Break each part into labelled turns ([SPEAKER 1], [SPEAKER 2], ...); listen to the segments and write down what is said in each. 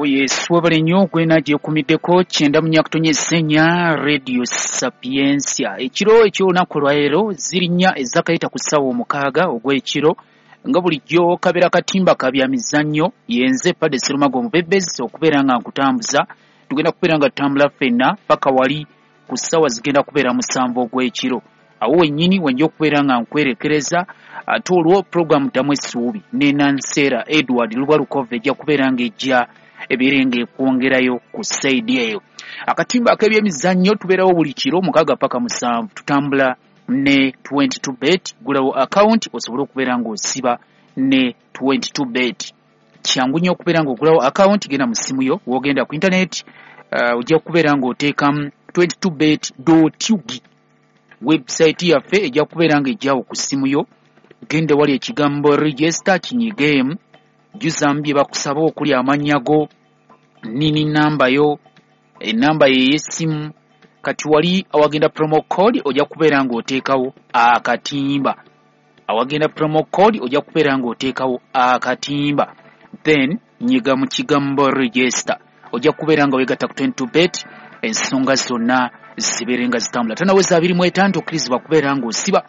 [SPEAKER 1] Yes, webale nnyo gwena gyekumiddeko 94.4 Radio Sapientia. Ekiro eky'olunaku olwaleero ziri 4 ezakayita ku ssaawa 6 ogw'ekiro, nga bulijjo kabeera katimba ka bya mizannyo. Yenze Padde Serumago omubebezi okubeera nga nkutambuza. Tugenda kubeera nga tutambula ffenna paka wali ku ssaawa zigenda kubeera 7 ogw'ekiro. Awo wennyini wenja okubeera nga nkwerekereza, ate olwo puroguramu Ddamu Essuubi ne Nanseera Edward Lubwalukove ejja kubeera ng'ejja ebeere ng'ekwongerayo ku sayidi eyo. Akatimba ak'ebyemizannyo tubeerawo buli kiro 6 paka 7, tutambula ne 22 bet. Gulawo akawunti osobole okubeera ng'osiba ne 22 bet. Kyangu nnyo okubeera ng'ogulawo akawunti, genda mu ssimu yo, w'ogenda ku intaneti ojja kubeera ng'oteekamu 22bet.ug. Website yaffe ejja kubeera ng'ejjawo ku ssimu yo. Genda wali ekigambo register kinyigeemu, jjuzaamu bye bakusaba okuli amannya go, nini namba yo, enamba yo ey'essimu. Kati wali awagenda promo code ojja kubeera ng'oteekawo akatimba. Awagenda promo code ojja kubeera ng'oteekawo akatimba, then nyiga mu kigambo register, ojja kubeera nga weegatta ku 22 bet, ensonga zonna zibeere nga zitambula. Tanaweza 25 tokkirizibwa kubeera ng'osiba,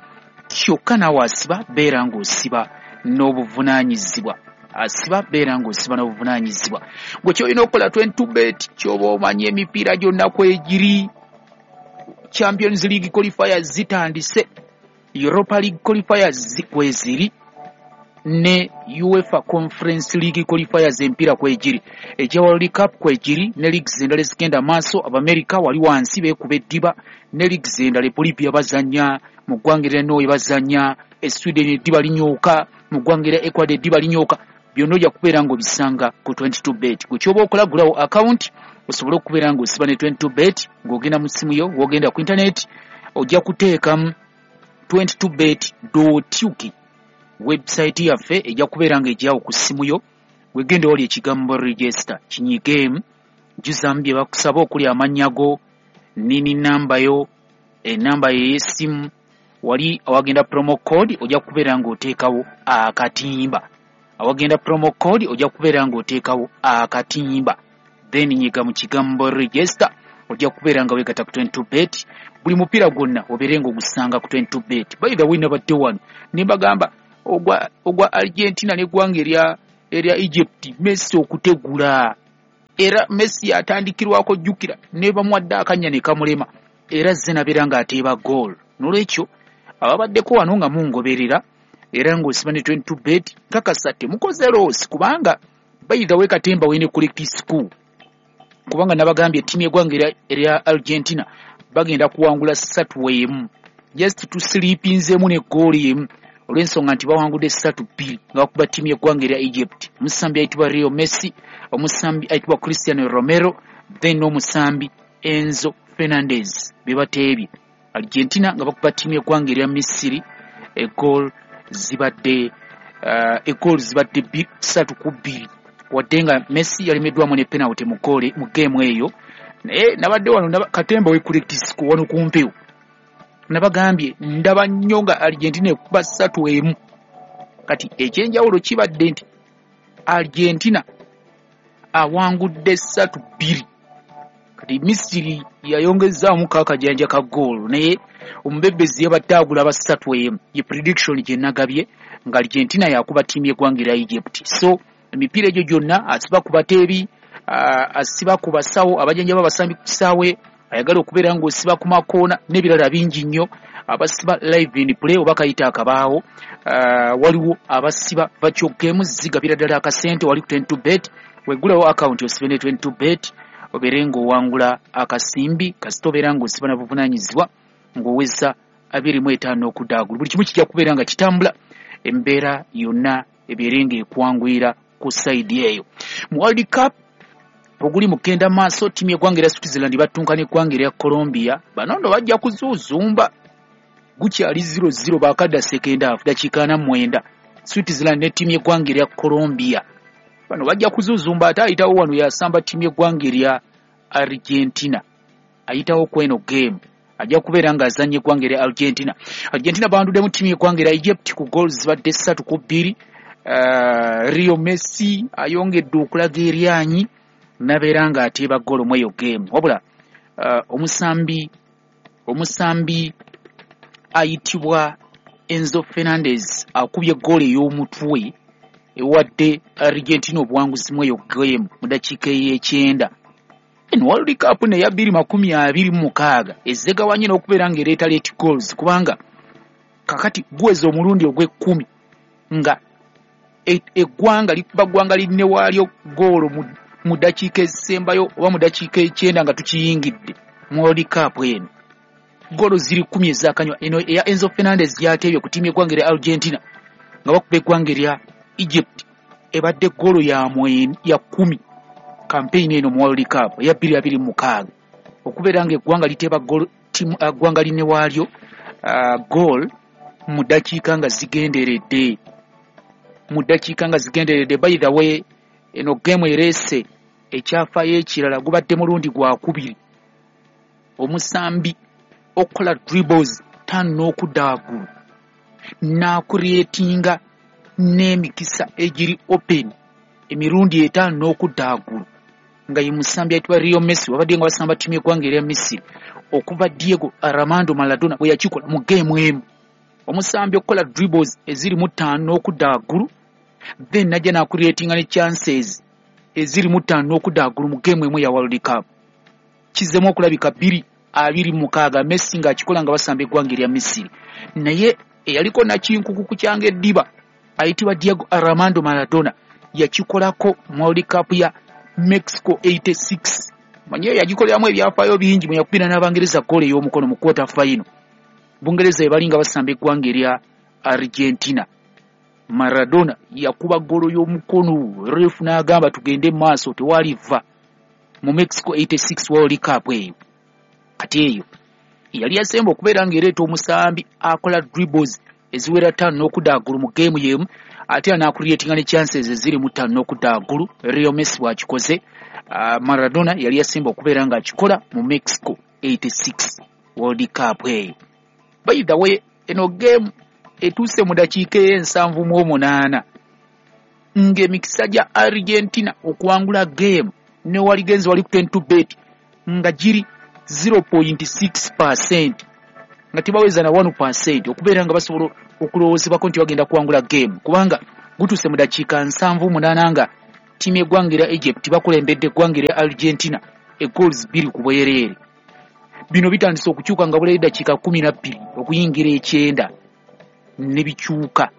[SPEAKER 1] kyokka naawe asiba beera ng'osiba n'obuvunaanyizibwa. Asiba beera ng'osiba n'obuvunaanyizibwa. Gwe ky'olina okukola 22 bet, ky'oba omanyi emipiira gyonna kwegiri. Champions League qualifiers zitandise, Europa League qualifiers kweziri, ne UEFA Conference League qualifiers empiira kwegiri, egya World Cup kwegiri, ne leagues endala ezigenda maaso. Abamerika wali wansi beekuba eddiba ne leagues endala. E Bolivia bazannya, mu ggwanga erya Norway bazannya, e Sweden eddiba linyooka, mu ggwanga erya Ecuador eddiba linyooka. Byonna ojja kubeera ng'obisanga ku 22 bet. Gwe ky'oba okola, gulawo akawunti osobole okubeera ng'osiba ne 22 bet. Ng'ogenda mu ssimu yo, w'ogenda ku intaneti ojja kuteekamu 22bet.ug. Website yaffe ejja kubeera ng'ejjawo ku ssimu yo. Wegenda wali ekigambo register kinyigeemu, jjuzaamu bye bakusaba okuli amannya go, nini namba yo, enamba yo ey'essimu. Wali awagenda promo code ojja kubeera ng'oteekawo akatimba. Awagenda promo code ojja kubeera ng'oteekawo akatimba, then nyiga mu kigambo register, ojja kubeera nga weegatta ku 22 bet. Buli mupiira gwonna obeere ng'ogusanga ku 22 bet. By the way, nabadde wano ne mbagamba ogwa Argentina n'eggwanga erya Egypt, Messi okutegula, era Messi atandikirwako, jjukira ne bamuwadde akannya ne kamulema, era azze nabeera ng'ateeba goal. N'olwekyo ababaddeko wano nga mungoberera era ng'osiba ne 22 bet, nkakasa temukoze loss, kubanga by the way katemba wene correct school, kubanga nabagambye ttiimu y'eggwanga erya Argentina bagenda kuwangula 3-1, just tusilipinzeemu ne goali emu, olw'ensonga nti bawangudde 3-2 nga bakuba ttiimu y'eggwanga erya Egypt. Omusambi ayitibwa Leo Messi, omusambi ayitibwa Cristiano Romero, then n'omusambi Enzo Fernandez be bateebye. Argentina nga bakuba ttiimu y'eggwanga erya Misiri, egoal zibadde 3-2, wadde nga Messi yalemeddwamu ne penalty mu goal mu game eyo. Naye nabadde wano katemba we correct score wano ku mpewo, nabagambye ndaba nnyo nga Argentina ekuba 3-1. Kati ekyenjawulo kibadde nti Argentina awangudde 3-2, kati Misiri yayongezzaamu kakajanja ka goal, naye omubebezi yabadde agula ba 3-1. Ye prediction gye nagabye nga Argentina yakuba ttiimu y'eggwanga erya Egypt. So emipiira egyo gyonna asiba ku bateebi, asiba ku basawo abajanjaba abasambi ku kisaawe, ayagala okubeera ng'osiba ku makoona n'ebirala bingi nnyo, abasiba live in play oba kayita akabaawo, waliwo abasiba virtual games zigabira ddala akasente wali ku 22 bet. Weggulawo akawunti osibe ne 22 bet, obeere ng'owangula akasimbi, kasita obeera ng'osiba na buvunaanyizibwa ng'oweza 25 okudda waggulu. Buli kimu kijja kubeera nga kitambula, embeera yonna ebeere ng'ekwanguyira ku sayidi eyo. Mu World Cup oguli mu kgenda maaso, ttiimu y'eggwanga erya Switzerland battunka n'eggwanga erya Colombia. Bano nno bajja kuzuuzumba, gukyali 0-0, baakadda second half, dakiika 49. Switzerland ne ttiimu y'eggwanga erya Colombia, bano bajja kuzuuzumba. Ate ayitawo wano yasamba ttiimu y'eggwanga erya Argentina, ayitawo kweno game ajja kubeera ng'azannya eggwanga erya Argentina. Argentina banduddemu ttiimu y'eggwanga erya Egypt ku goals zibadde 3-2. Leo Messi ayongedde okulaga eryanyi. Nabeera nga ateeba ggoolo mu eyo game. Wabula omusambi ayitibwa Enzo Fernandez akubye ggoolo ey'omutwe ewadde Argentina obuwanguzi mu eyo game mu dakiika ey'ekyenda. Eno World Cup neya 2026 ezegawanye n'okubeera ng'ereeta late goals, kubanga kakati guweza omulundi ogw'ekkumi nga eggwanga likuba ggwanga linne waalyo ggoolo mu ddakiika ezisembayo oba mu ddakiika ekyenda nga tukiyingidde mu World Cup eno. Ggoolo ziri 10 ezakanywa. Eno eya Enzo Fernandez gy'ateebye ku ttiimu y'eggwanga erya Argentina nga bakuba eggwanga erya Egypt ebadde ggoolo ya 10 campaign eno mu World Cup eya 2026, okubeera ng'eggwanga liteeba ggwanga linne waalyo goal mu ddakiika nga zigenderedde, mu ddakiika nga zigenderedde. By the way, eno game ereese ekyafaayo ekirala. Gubadde mulundi gwakubiri omusambi okukola dribbles 5 n'okudda waggulu n'acreatinga n'emikisa egiri open emirundi 5 n'okudda waggulu, nga ye musambi ayitibwa Lionel Messi, wabadde nga basamba ttiimu y'eggwanga erya Misiri, okuva Diego Armando Maradona bwe yakikola mu geemu emu. Omusambi okukola dribbles eziri mu 5 n'okudda waggulu, then najja n'acreatinga ne chances eziri mu 5 n'okudda waggulu mu geemu emu ya World Cup, kizzemu okulabika 2026, Messi ng'akikola nga basamba eggwanga erya Misiri. Naye eyaliko nakinkuku ku kyanga eddiba ayitibwa Diego Armando Maradona yakikolako mu World Cup ya Mexico 86. Manye yagikoleramu ebyafaayo bingi mwe yakubira n'Abangereza ggoolo ey'omukono mu quarter final, Bungereza ebali nga basamba eggwanga erya Argentina. Maradona yakuba ggoolo y'omukono, ref n'agamba tugende mu maaso, tewaliva, mu Mexico 86 World Cup eyo. Kati eyo yali yasemba okubeera ng'ereeta omusambi akola dribbles eziwera 5 n'okudda waggulu mu geemu y'emu, ate n'acreatinga ne chances eziri mu 5 n'okudda waggulu. Lionel Messi bw'akikoze, Maradona yali yasemba okubeera ng'akikola mu Mexico 86 World Cup eyo. By the way, eno game etuuse mu dakiika ey'e78 ng'emikisa gya Argentina okuwangula game ne waligenzi wali ku 10 bet nga giri 0.6%, nga tebaweza na 1% okubeera nga basobola okulowoozebwako nti bagenda kuwangula game, kubanga gutuuse mu dakiika 78 nga ttiimu y'eggwanga erya Egypt bakulembedde eggwanga erya Argentina egoals 2 ku bwereere. Bino bitandise okukyuka nga bulayo eddakiika 12 okuyingira ekyenda, ne bikyuka,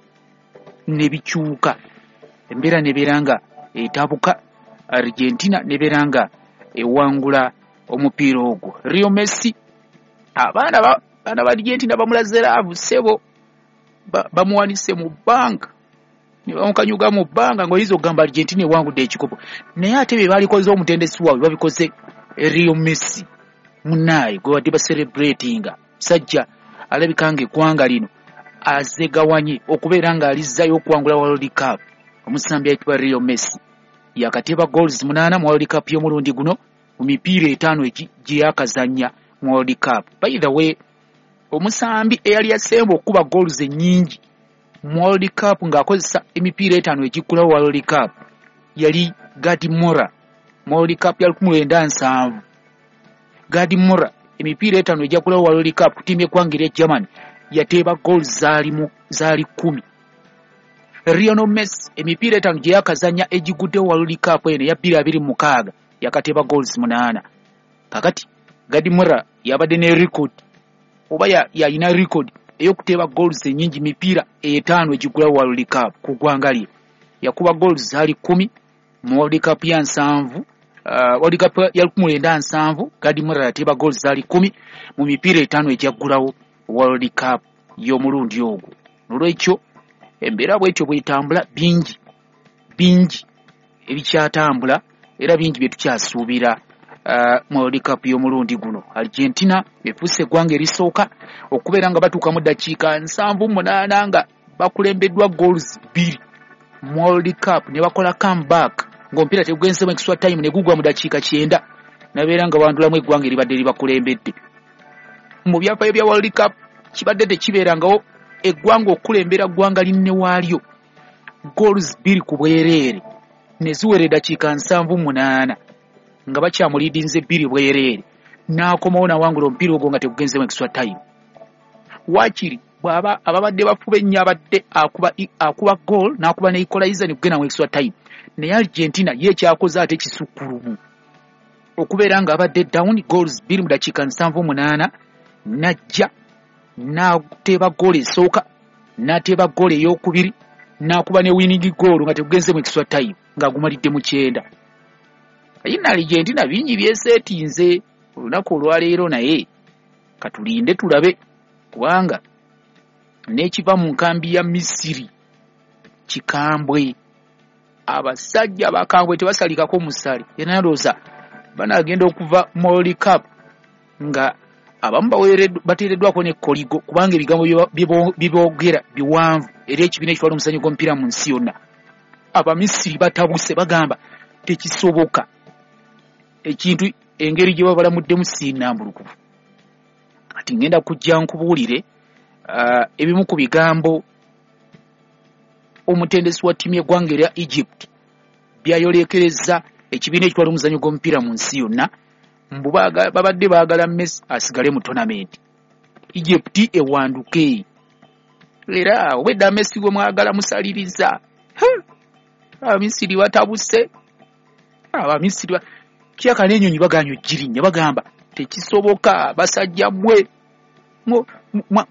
[SPEAKER 1] ne bikyuka, embeera nebeera nga etabuka, Argentina nebeera nga ewangula omupiira ogwo. Lionel Messi, abaana ba Argentina bamulaze love, ssebo, bamuwanise mu bbanga ne bamukanyuga mu bbanga ng'oyinza okugamba Argentina ewangudde ekikopo, naye ate bye baalikoze omutendesi waabwe babikoze Lionel Messi munnaaye gwe badde bacelebratinga. Musajja alabika ng'eggwanga lino azegawanye okubeera ng'alizzayo okuwangula World Cup. Omusambi ayitibwa Lionel Messi yakateeba goals 8 mu World Cup y'omulundi guno mu mipiira 5 gye yakazannya mu World Cup. By the way, omusambi eyali yasemba okukuba goals ennyingi mu World Cup ng'akozesa emipiira 5 egiggulawo World Cup yali Gerd Müller mu World Cup ya 1970. Gerd Müller emipiira 5 egiggulawo World Cup ku ttiimu y'eggwanga erya Germany yateeba goals zaali 10. Lionel Messi emipiira 5 gye yakazannya egiguddewo World Cup eno eya 2026 yakateeba goals 8. Kakati Gerd Müller yabadde ne record, oba yalina record ey'okuteeba goals ennyingi mipiira 5 egiggulawo World Cup ku ggwanga lye. Yakuba goals zaali 10 mu World Cup ya 70, World Cup ya 1970. Gerd Müller yateeba goals zaali 10 mu mipiira 5 egyaggulawo World Cup y'omulundi ogwo. Nolwekyo embeera bwetyo bwetambula, bingi bingi ebikyatambula era bingi bye tukyasuubira mu World Cup y'omulundi guno. Argentina efuuse eggwanga erisooka okubeera nga batuuka mu ddakiika 78 nga bakulembeddwa goals 2 mu World Cup ne bakola comeback ng'omupiira tegugenzemu extra time ne gugwa mu dakiika 90, nabeera nga bandulamu eggwanga eribadde libakulembedde. Mu byafaayo bya World Cup kibadde tekibeerangawo eggwanga okukulembera ggwanga linne waalyo goals 2 ku bwereere ne ziwera eddakiika 78. nga bakyamulidinze 2 bwereere, n'akomawo n'awangula omupiira ogwo nga tegugenzemu extra time. Waakiri bw'aba ababadde bafuba ennyo abadde akuba goal n'akuba ne equalizer ne kugenda mu extra time. Naye Argentina ye ekyakoze ate kisukkulumu okubeera nga abadde down goals 2 mu dakiika 78, n'ajja n'ateeba goal esooka, n'ateeba goal ey'okubiri, n'akuba ne winning goal nga tegugenze mu extra time ng'agumalidde mu 9. Ayina Argentina bingi byeseetinze olunaku olwaleero, naye katulinde tulabe, kubanga n'ekiva mu nkambi ya Misiri kikambwe. Abasajja bakambwe tebasalikako musale. Era ndowooza banaagenda okuva mu World Cup nga abamu bateereddwako ne koligo, kubanga ebigambo bye boogera biwanvu eri ekibiina ekitwala omuzannyo gw'omupiira mu nsi yonna. Abamisiri batabuse, bagamba tekisoboka ekintu engeri gye babalamuddemu si nnambulukufu. Kati ngenda kujja nkubuulire ebimu ku bigambo omutendesi wa ttiimu y'eggwanga erya Egypt byayolekereza ekibiina ekitwala omuzannyo gw'omupiira mu nsi yonna. Mbu babadde baagala Messi asigale mu tournament, Egypt ewanduke, era obwedda Messi gwe mwagala musaliriza. Abamisiri batabuse, Abamisiri kyaka n'ennyonyi bagaanye ogirinnya, bagamba tekisoboka, basajja mmwe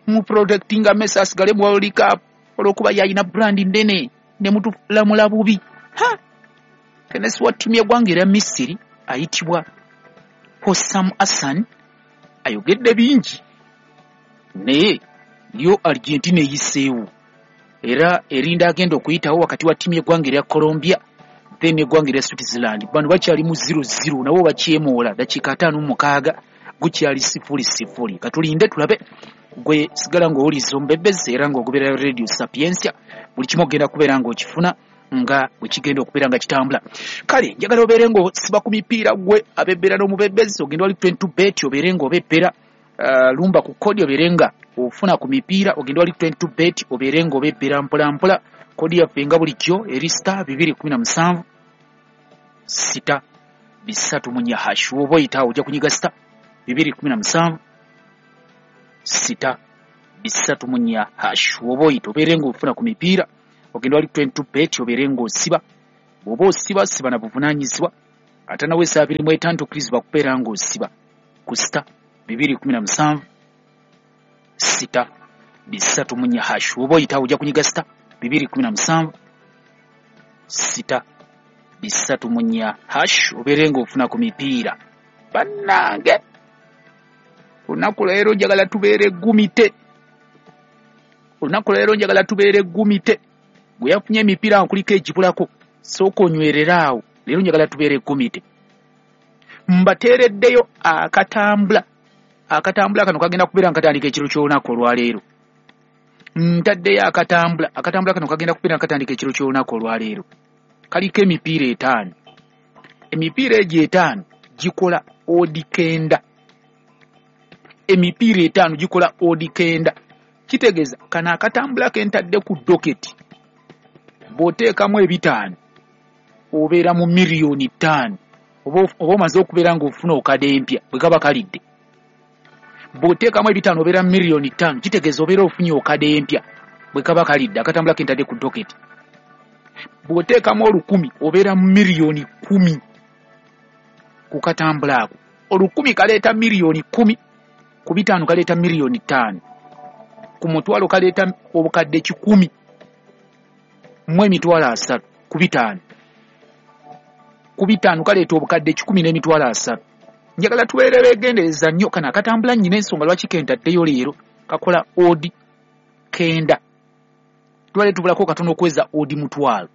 [SPEAKER 1] mu protectinga Messi asigale mu World Cup olw'okuba yalina brand nnene ne mutulamula bubi. Tenesi wa ttiimu y'eggwanga erya Misiri ayitibwa Hossam Hassan ayogedde bingi, naye yo Argentina eyiseewo era erinda agenda okuyitawo wakati wa ttiimu y'eggwanga erya Colombia then eggwanga erya Switzerland. Bano bakyali mu 0-0, nabo bakyemoola, dakiika 56 gukyali 0-0. Katulinde tulabe. Gwe sigala ng'owuliza omubebezi era ng'ogoberera Radio Sapientia, buli kimu ogenda kubeera ng'okifuna nga bwe kigenda okubeera nga kitambula. Kale njagala obeere ng'osiba ku mipiira, gwe abebbera n'omubebezi, ogenda wali 22 bet obeere ng'obebbera, lumba ku kodi obeere nga ofuna ku mipiira. Ogenda wali 22 bet obeere ng'obebbera mpola mpola. Kodi yaffe nga bulijjo eri *217 *304 hash. Woba oyitaawo ojja kunyiga *217 *304 hash. Woba oyita obeere ng'ofuna ku mipiira, ogenda wali 22 bet obeere ng'osiba. Bw'oba osiba, siba na buvunaanyizibwa, ate naweesa 25 tokkirizibwa kubeera ng'osiba ku *217 *304 hash. Woba oyitaawo ojja kunyiga *217 *304 hash obeere ng'ofuna ku mipiira. Bannange, olunaku leero njagala tubeere gumite, olunaku leero njagala tubeere gumite. Gwe yafunye emipiira nkuliko egibulako, sooka onywerera awo. Leero njagala tubeere gumite. Mbateereddeyo akatambula. Akatambula kano kagenda kubeera nga katandika ekiro ky'olunaku olwaleero. Ntaddeyo akatambula. Akatambula kano kagenda kubeera nga katandika ekiro ky'olunaku olwaleero, kaliko emipiira 5. Emipiira egyo 5 gikola odd 9. Emipiira 5 gikola odd 9. Kitegeeza kano akatambula ke ntadde ku docket, bw'oteekamu 5 obeera mu miliyoni 5, oba omaze okubeera ng'ofuna okadde empya bwe kaba kalidde. Bw'oteekamu 5 obeera mu miliyoni 5, kitegeeza obeera ofunye okadde empya bwe kaba kalidde akatambula ke ntadde ku docket. Bw'oteekamu 1,000 obeera mu miliyoni 10 ku katambula ako. 1,000 kaleeta miliyoni 10, ku 5 kaleeta miliyoni 5, ku 1,000 kaleeta obukadde 130,000, ku 5, ku 5 kaleeta obukadde 130,000. Njagala tubeere beegendereza nnyo. Kano akatambula nnyina ensonga lwaki kentaddeyo leero, kakola odd 9. Tubale tubulako katono okuweza odd 1,000,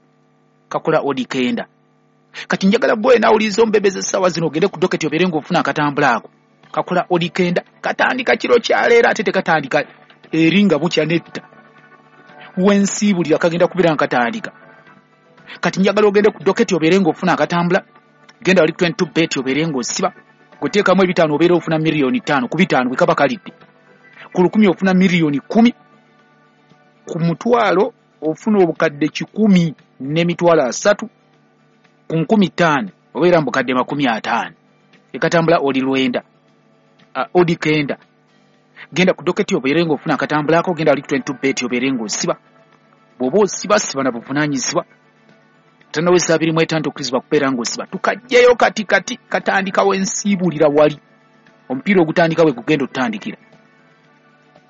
[SPEAKER 1] kakola odd 9. Kati njagala gwe naawuliriza omubebeza essaawa zino ogende ku docket obeere ng'ofuna akatambula ako. Kakola odd 9, katandika kiro kyaleero, ate tekatandika eri nga bukya netta wensiibulira, kagenda kubeera nga katandika. Kati njagala ogende ku docket obeere ng'ofuna akatambula. Genda wali 22 bet obeere ng'osiba. Gweteekamu 5 obeera ofuna miliyoni 5 ku 5 bwe kaba kalidde. Ku 1,000 ofuna miliyoni 10, ku 1,000 ofuna obukadde 130,000, ku 5,000 Obeera mu bukadde 50. Ekatambula oli 9, odi 9. Genda ku doketi obeere ng'ofuna akatambulako, genda ali 22 bet obeere ng'osiba. Bw'oba osiba, siba na buvunaanyizibwa. Tanaweza 25 okkirizibwa kubeera ng'osiba. Tukajjeyo kati kati, katandikawo ensiibulira wali. Omupiira ogutandika we gugenda otutandikira.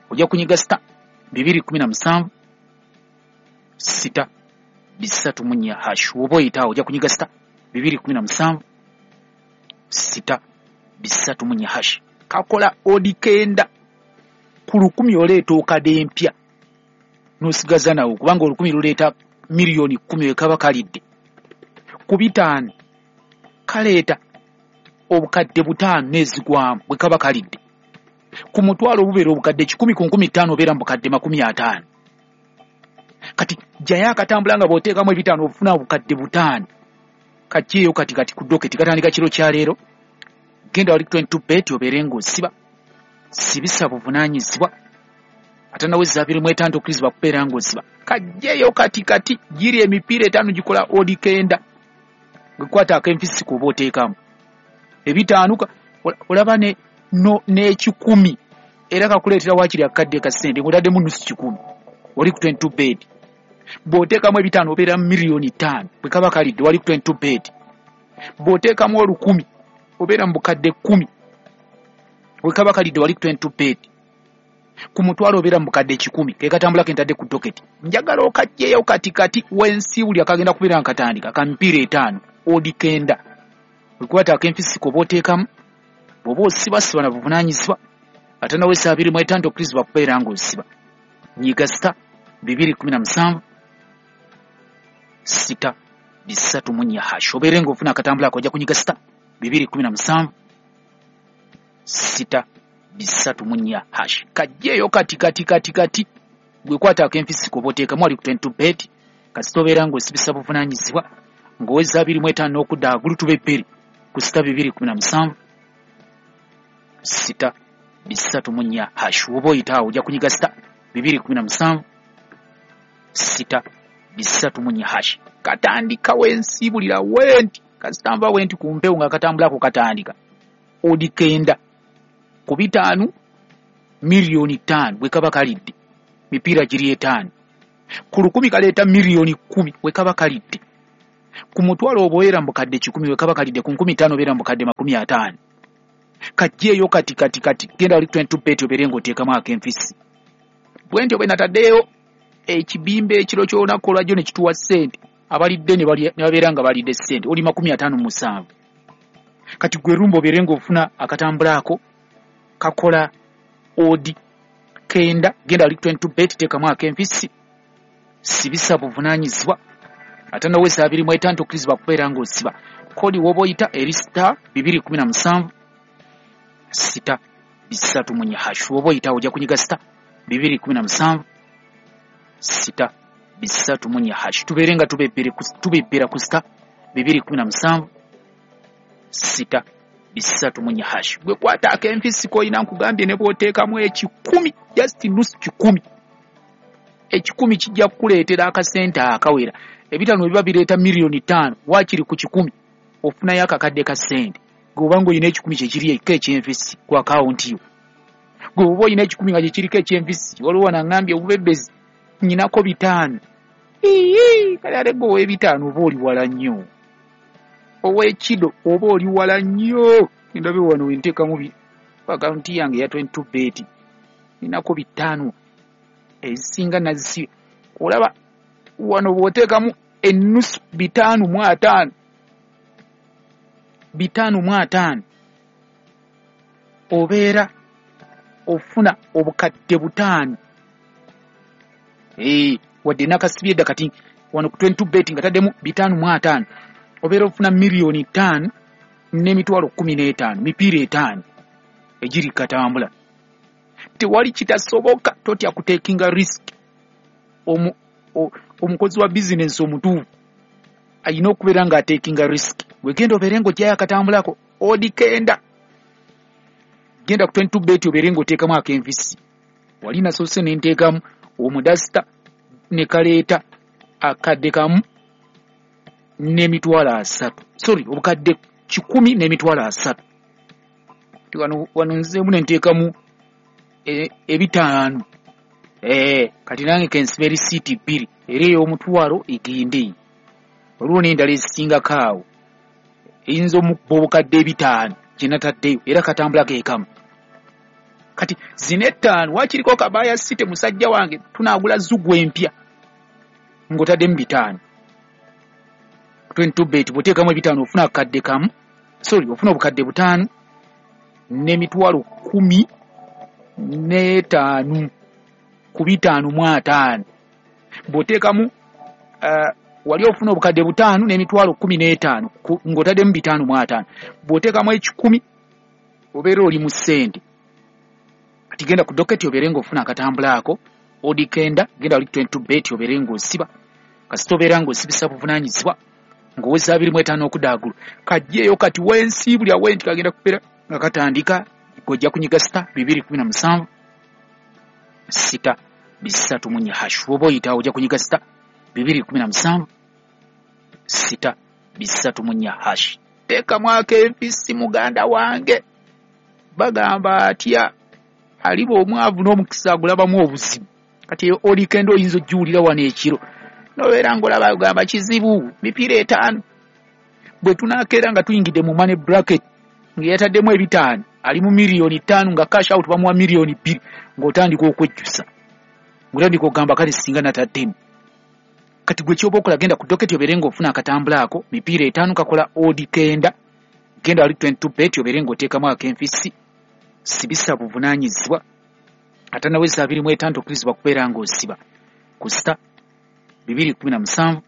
[SPEAKER 1] Ojja kunyiga sita 217 6 3 4 hash. Oba oyitaawo ojja kunyiga sita 217 6 3 4 hash. Kakola odi 9 ku 1,000 oleeta okadde empya n'osigaza nawo, kubanga 1,000 luleeta miliyoni 10 we kaba kalidde. Ku 5 kaleeta obukadde 5 n'ezigwamu bwe kaba kalidde. Ku 1,000 obubeera obukadde 100, ku 5,000 obeera mu bukadde 50. Kati jjayo akatambula nga bw'oteekamu 5 ofuna obukadde 5. Kajjeeyo kati kati ku doketi, katandika kiro kya leero. Genda wali 22 bet obeere ng'osiba. Sibisa buvunaanyizibwa. Atanaweza 25 okkirizibwa kubeera ng'osiba. Kajjeeyo kati kati, giri emipiira 5 gikola odi 9. Gwe kwata ak'enfisi k'oba oteekamu. 5 olaba n'ekikumi era kakuleetera waakiri akadde ka ssente ng'otaddemu nusu 100. Wali ku 22 bet. Bw'oteekamu 5 obeera miliyoni 5 bwe kaba kalidde, wali ku 22 bet. Bw'oteekamu 1,000 obeera mu bukadde 10 bwe kaba kalidde, wali ku 22 bet. Ku 1,000 obeera mu bukadde 100. Ke katambula ke ntadde ku doketi. Njagala okajjeyo kati kati wensiibuli akagenda kubeera nga katandika ka mipiira 5 odi 9. Bwe kwata ak'enfisi k'oba oteekamu, bw'oba osiba, siba na buvunaanyizibwa. Atanaweza 25 okkirizibwa kubeera ng'osiba. Nyiga sita 217 6 3 4 hash. Obeere ng'ofuna akatambula ako, ojja kunyiga sita 217 6 3 4 hash. Kajjeeyo kati kati kati kati. Gwe kwata ak'enfisi k'oba oteekamu wali ku 22 bet. Kasita obeera ng'osibisa buvunaanyizibwa ng'oweza 25 n'okudda waggulu tuba ebbiri ku sita 217 6 3 4 hash. Oba oyitaawo ojja kunyiga sita 217 6 3 4 hash. Katandika wensiibulira wenti, kasita nva wenti ku mpewo nga katambulako katandika. Odi 9 ku 5 miliyoni 5 bwe kaba kalidde, mipiira giri 5. Ku 1,000 kaleeta miliyoni 10 bwe kaba kalidde. Ku 1,000 obeera mu bukadde 100 bwe kaba kalidde, ku 5,000 obeera mu bukadde 50. Kajjeeyo kati kati kati, genda wali 22 bet obeere ng'oteekamu ak'enfisi. Bwe ntyo bwe nataddeyo ekibimba ekiro ky'olunaku olwajjo ne kituwa ssente, abalidde ne babeera nga balidde ssente oli 57. Kati gwe rumba obeere ng'ofuna akatambula ako kakola odi 9. Genda wali 22 bet, teekamu ak'enfisi, sibisa buvunaanyizibwa. Atanaweza 25 okkirizibwa kubeera ng'osiba. Kodi w'oba oyita eri star 217 6 3 4 hash. W'oba oyitawo ojja kunyiga sita 217 6 3 4 hash. Tubeere nga tubebbera ku sita 217 6 3 4 hash. Gwe kwata ak'enfisi k'olina, nkugambye ne bw'oteekamu 100, just nusu 100, 100 kijja kukuleetera akasente akawera. 5 biba bireeta miliyoni 5, waakiri ku 100 ofunayo akakadde ka ssente. Gwe oba ng'olina 100 kyekiri eko ekyenfisi ku akawunti yo, gwe oba olina 100 nga kyekiriko ekyenfisi. Waliwo wanaŋŋambye obubebbezi nnyinako 5. Ii, kale ate gwe ow'ebitaano oba oli wala nnyo, ow'ekido oba oli wala nnyo. Ndabe wano wenteekamu akawunti yange eya 22 bet, ninako 5, ezisinga nazisiba. Olaba wano bw'oteekamu ennusu 550, 550 obeera ofuna obukadde 5. Wadde nakasibye edda, kati wano ku 22 bet nga taddemu 550 obeera ofuna miliyoni 5 n'emitwalo 15, mipiira 5 egiri katambula. Tewali kitasoboka, totya kutekinga risk. Omukozi wa bizinensi omutuufu ayina okubeera ng'atekinga risk. Wegenda obeere ng'ojjayo akatambulako odi 9. Genda ku 22 bet obeere ng'oteekamu ak'enfisi. Wali nasoose ne nteekamu omudasita ne kaleeta akadde kamu. n'emitwalo asatu, sorry, obukadde 100 n'emitwalo 30. Wano nzeemu ne nteekamu 5. Kati nange kensiba erisiiti 2, era ey'omutwalo egende. Waliwo n'endala ezisingako awo eyinza omukuba obukadde 5 gye nataddeyo, era katambula keekamu. Kati zino 5 waakiriko Kabaya City, musajja wange, tunaagula Zugu empya ng'otaddemu 5. 22 bet bw'oteekamu 5 ofuna akadde kamu, sorry, ofuna obukadde 5 n'emitwalo 15 ku 550. Bw'oteekamu wali ofuna obukadde 5 n'emitwalo 15 ng'otaddemu 550. Bw'oteekamu 100 obeera oli mu ssente. Kati genda ku doketi obeere ng'ofuna akatambula ako, odi kenda, genda wali 22 bet obeere ng'osiba. Kasita obeera ng'osibisa buvunaanyizibwa ng'oweza 25 okudda waggulu. Kajjeeyo kati wensiibulya wenti kagenda kubeera nga katandika, gojja kunyiga sita 217 6 3 hash. Oba oyitawo ojja kunyiga sita 217 6 3 hash. Teekamu ak'enfisi muganda wange. Bagamba atya aliba omwavu n'omukisa agulabamu obuzibu. Kati eyo olikendo oyinza ojjuwulira wano ekiro nobeera ng'olaba ogamba kizibu, mipiira 5. Bwe tunaakeera nga tuyingidde mu money bracket nga yataddemu 5 ali mu miliyoni 5 nga cash out bamuwa miliyoni 2, ng'otandika okwejjusa, ng'otandika okugamba kale singa nataddemu. Kati gwe kyoba okola, genda ku doketi obeere ng'ofuna akatambula ako, mipiira 5 kakola odi kenda, genda wali 22 bet obeere ng'oteekamu ak'enfisi, sibisa buvunaanyizibwa. Atanaweza 25 tokkirizibwa kubeera ng'osiba ku sita 217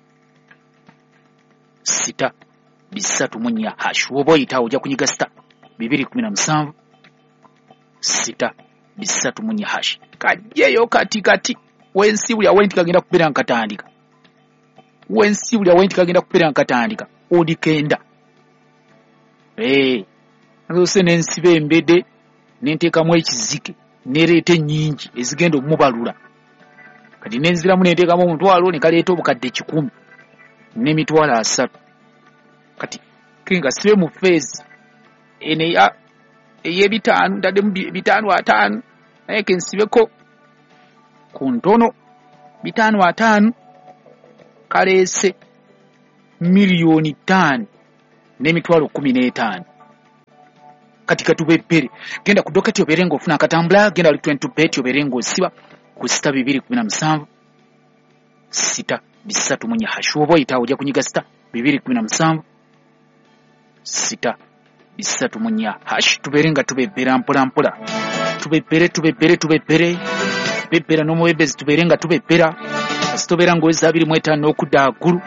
[SPEAKER 1] 6 3 hash. Oba oyitawo ojja kunyiga sita 217 6 3 hash. Kajjeeyo kati kati wensiibulya wenti kagenda kubeera nga katandika, wensiibulya wenti kagenda kubeera nga katandika odi kenda. Nzose n'ensiba embede nenteekamu ekizike nereeta ennyingi ezigenda omubalula. Kati nenziramu nenteekamu omutwalo ne kaleeta obukadde 100 n'emitwalo 30. Kati kenga sibe mu feezi eno ey'ebitaano, ntaddemu 550, naye kensibeko ku ntono 550 kaleese miliyoni 5 n'emitwalo 15. Kati katubebbere, genda ku doketi obeere ng'ofuna akatambula, genda wali 22 bet obeere ng'osiba ku sita 217 6 3 hash. Oba oyitawo ojja kunyiga sita 217 6 3 hash. Tubeere nga tubebbera mpola mpola, tubebbere tubebbere tubebbere, bebbera n'omuwebezi, tubeere nga tubebbera. Kasita obeera ng'oweza 25 okudda waggulu,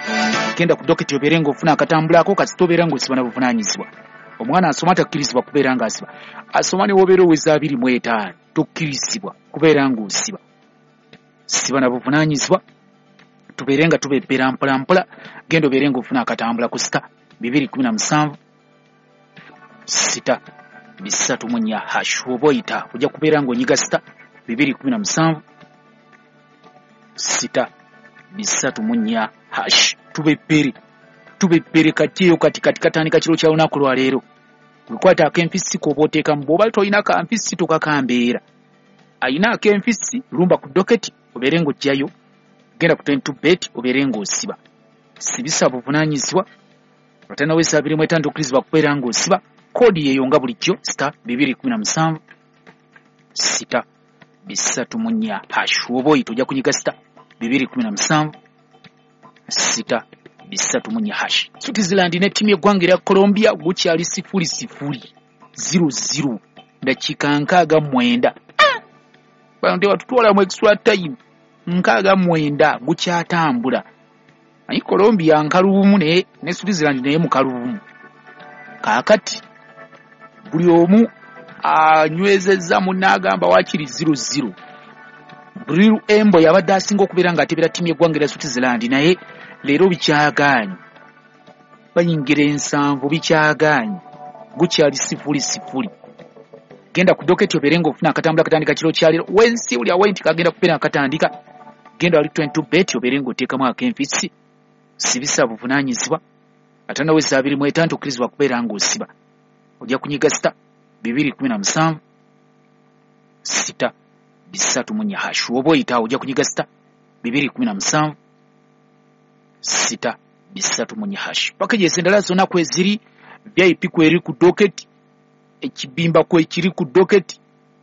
[SPEAKER 1] genda ku doketi obeere ng'ofuna akatambula ako. Kasita obeera ng'osiba na buvunaanyizibwa. Omwana asoma takkirizibwa kubeera ng'asiba, asoma ne w'obeera oweza 25 tokkirizibwa kubeera ng'osiba. Siba na buvunaanyizibwa, tubeere nga tubebbera mpola mpola. Genda obeere ng'ofuna akatambula ku sita 217 6 3 hash. Oba oyita ojja kubeera ng'onyiga sita 217 6 3 hash. Tubebbere tubebbere, kajjeeyo kati kati katandika kiro kya lunaku lwa leero. Wekwata ak'enfisi k'oba oteekamu, bw'oba tolina kanfisi tokakambeera. Ayina ak'enfisi lumba ku doketi obeere ng'oggyayo, genda ku 22 bet obeere ng'osiba. Sibisa buvunaanyizibwa, atanaweza 25 tokkirizibwa kubeera ng'osiba. Koodi yeeyo nga bulijjo sita 217 6 3 hash. Oba oyita ojja kunyiga sita 217 6 3 hash. Switzerland ne ttiimu y'eggwanga erya Colombia gukyali 0-0 0-0 dakiika 69. Bano tebatutwala mu extra time, 69 gukyatambula. Naye Colombia nkalubumu naye ne Switzerland naye mukalubumu. Kaakati buli omu anywezezza munnaagamba waakiri 0-0. Brill Embo yabadde asinga okubeera ng'atebera ttiimu y'eggwanga erya Switzerland, naye leero bikyagaanyi, bayingira 7 bikyagaanyi, gukyali 0-0. Genda ku doketi obeere ng'ofuna akatambula katandika kiro kya leero. Wensi uli awenti kagenda kubeera nga katandika, genda wali 22 bet obeere ng'oteekamu ak'enfisi, Sibisa buvunaanyizibwa. 5 weza 25 tokkirizibwa kubeera ng'osiba. Ojja kunyiga *217 *334 hash. Oba oyitaawo ojja kunyiga *217 *334 hash. Packages endala zonna kweziri, VIP kweri ku docket, ekibimba kwekiri ku docket,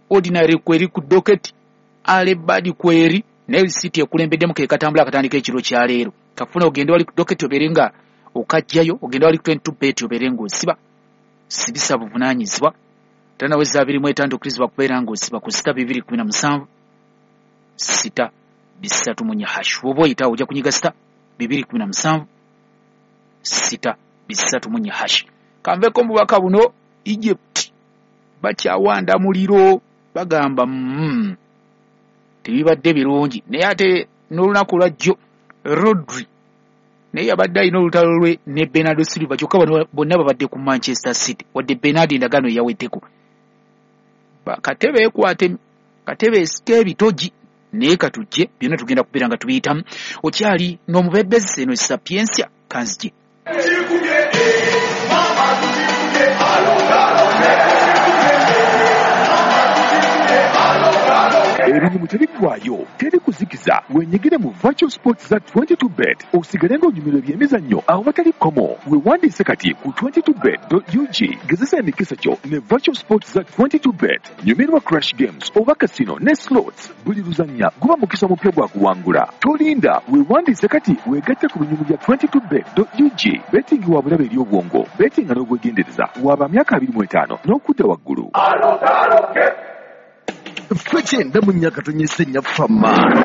[SPEAKER 1] ordinary kweri ku docket, alebadi kweri, naye risiti ekulembeddemu ke katambula akatandika ekiro kyaleero. Kafuna ogende wali ku docket obeere nga okajjayo, ogende wali ku 22 bet obeere ng'osiba. Sibisa buvunaanyizibwa. 5 weza 25 tokkirizibwa kubeera ng'osiba ku *217 *334 hash. Oba oyitawo ojja kunyiga *217 *334 hash. Kanveko mu bubaka buno. Egypt bakyawanda muliro, bagamba tebibadde birungi, naye ate n'olunaku lwajjo Rodri naye yabadde alina olutalo lwe ne Bernardo Silva, kyokka bano bonna babadde ku Manchester City, wadde Bernard endagaano yaweddeko. Katebe ekwate katebe esika ebitogi, naye katujje byonna tugenda kubeera nga tubiyitamu. Okyali n'omubebezi eno Sapiensia, kanzije.
[SPEAKER 2] Ebirimu tebiggwayo, teri kuzikiza. Wenyigire mu virtual sports za 22 bet, osigale ng'onyumirwa ebyemizannyo awo batali kkomo. Wewandiise kati ku 22bet.ug. Gezesa emikisa gyo ne virtual sports za 22 bet. Nyumirwa crash games oba casino ne slots. Buli luzannya guba mukisa mupya gwa kuwangula. Tolinda, wewandiise kati, weegatte ku binyumu bya 22bet.ug. Betting wa bulabe eri obwongo. Bettinga n'obwegendereza. Waba myaka 25 n'okudda waggulu.
[SPEAKER 3] Ffe 94 fama.